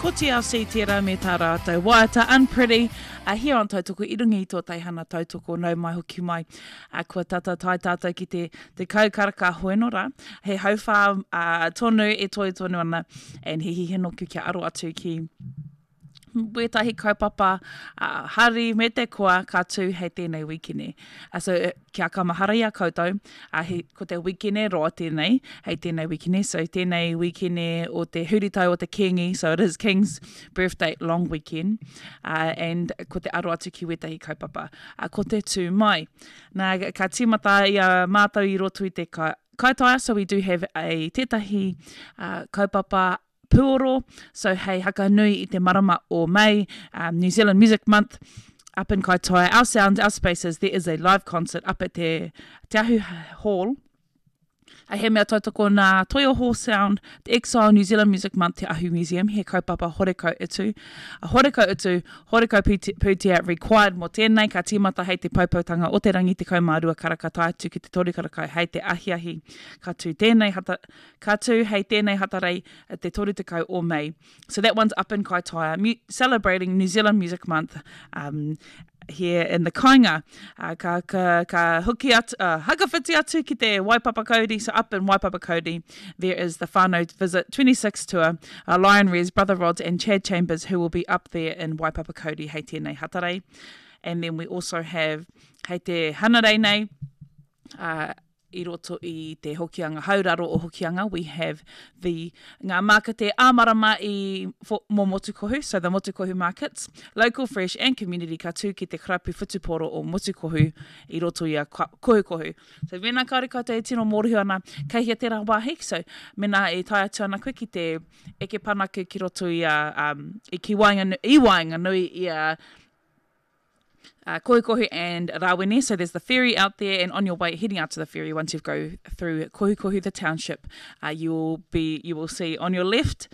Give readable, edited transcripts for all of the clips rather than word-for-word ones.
Ko TLC tērā me tā rātou waiata Unpretty a here on Tautoko i runga i tō teihana tautoko nau mai hoki mai. A, kua tata tae tātou ki te 10 karaka hoenora. He hauwhā uh, tonu e toe tonu ana and he hihi noku kia aro atu ki wētahi kaupapa uh, hari me te koa ka tū hei tēnei wikene. Uh, so, kia ka mahara i a koutou, uh, he, ko te wikene roa tēnei, hei tēnei wikene, so tēnei wikene o te huritau o te Kīngi, so it is King's birthday long weekend, uh, and ko te aro atu ki wētahi kaupapa, uh, ko te tū mai. Nā, ka tīmata i a mātou i roto i te ka, kaitaia, so we do have a tētahi uh, kaupapa puoro, so hei hakanui i te marama o May, um, New Zealand Music Month, up in Kaitaia, Our Sounds, Our Spaces, there is a live concert up at te, Te Ahu Hall, A he mea tautoko nā Toioho Sound, The Exile, New Zealand Music Month, Te Ahu Museum, he kaupapa horekau utu. A horekau utu, horekau pūtea required mō tēnei, ka tīmata hei te poupoutanga o te rangi 12 karaka tae atu ki te 3 karaka hei te ahiahi. Ka tū tēnei hata, Ka tū hei tēnei Hatarei te 30 o Mei. So that one's up in Kaitaia, mu celebrating New Zealand Music Month um, here in the kainga. Uh, ka, ka, ka hoki atu, uh, hakawhiti atu ki te Waipapakauri, so up in Waipapakauri, there is the whānau visit 26 tour, uh, Lion Rez, Brother Rods and Chad Chambers who will be up there in Waipapakauri hei tēnei Hatarei. And then we also have hei te Hanarei nei, uh, i roto i te Hokianga Hauraro o Hokianga, we have the ngā mākete ā-marama i for, mō Motukohu, so the Motukohu markets, local, fresh and community ka tū ki te karapu whutupōro o Motukohu i roto i a Kohukohu. So mēnā kāore koutou e tino mōrehu ana kei hea tērā wāhi, so mēnā e tae atu ana koe ki te eke panake ki roto i a, um, i ki waenganui, i waenganui i a uh, Kohukohu and Rawene. So there's the ferry out there, and on your way heading out to the ferry, once you go through Kohukohu, the township, uh, you will be you will see on your left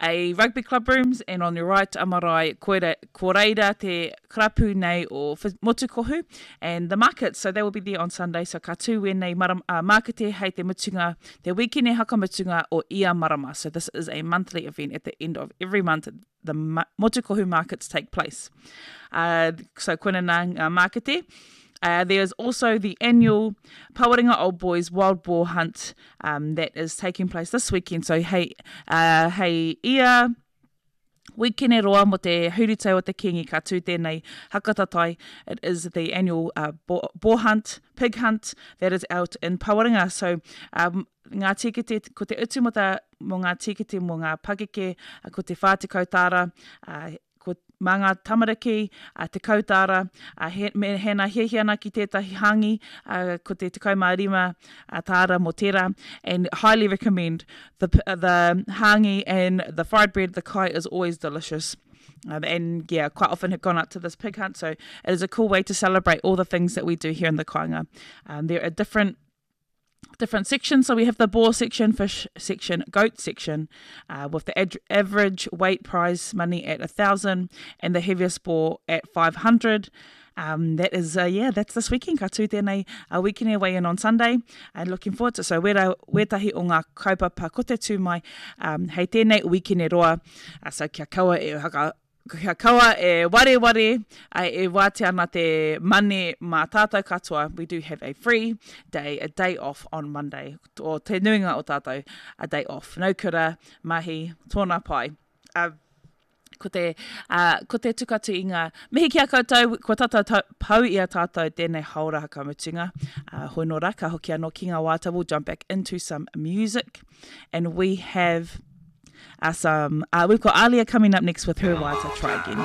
a rugby club rooms, and on your right a marae koira, ko reira te karapu nei o Motukohu and the market. So they will be there on Sunday. So ka tū wēnei maram, uh, markete hei te mutunga, te wikene hakamutunga o ia marama. So this is a monthly event at the end of every month the Motukohu markets take place. Uh, so koina nā ngā markete. Uh, there is also the annual Pawarenga Old Boys Wild Boar Hunt um, that is taking place this weekend. So hei, uh, hei ia wikene roa mo te huritau o te Kingi ka tū tēnei hakatatai. It is the annual uh, boar, boar hunt, pig hunt that is out in Pawarenga. So um, ngā tīkete, ko te utu mō, ta, mō ngā tīkete mō ngā pakeke, ko te 40 tāra, ko, mā ngā tamariki, 10 tāra, he, me, hēnā hiahia ana ki tētahi hāngi, ko te 15 tāra mō tērā, and highly recommend the, the hāngi and the fried bread, the kai is always delicious. Um, and yeah, quite often have gone out to this pig hunt, so it is a cool way to celebrate all the things that we do here in the kāinga. Um, there are different different sections. So we have the boar section, fish section, goat section, uh, with the ad- average weight prize money at a 1,000 and the heaviest boar at 500. Um, that is, uh, yeah, that's this weekend. Ka tū tēnei uh, weekend weigh in on Sunday. And looking forward to So wera, wētahi o ngā kaupapa ko te tū mai um, hei tēnei weekend roa. Uh, so kia kaua e haka, Kia kaua e wareware, e wātea ana te mane mā tātou katoa, we do have a free day, a day off on Monday. O te nuinga o tātou, a day off. No kura, mahi, tōna pai. Uh, ko te, uh, ko te tuku atu i ngā mihi ki a koutou, kua tata ta, pau i a tātou tēnei haora hakamutunga. Uh, hoi nō rā, ka hoki anō ki ngā wāta, we'll jump back into some music. And we have uh, some, uh, we've got Alia coming up next with her waiata, Try Again.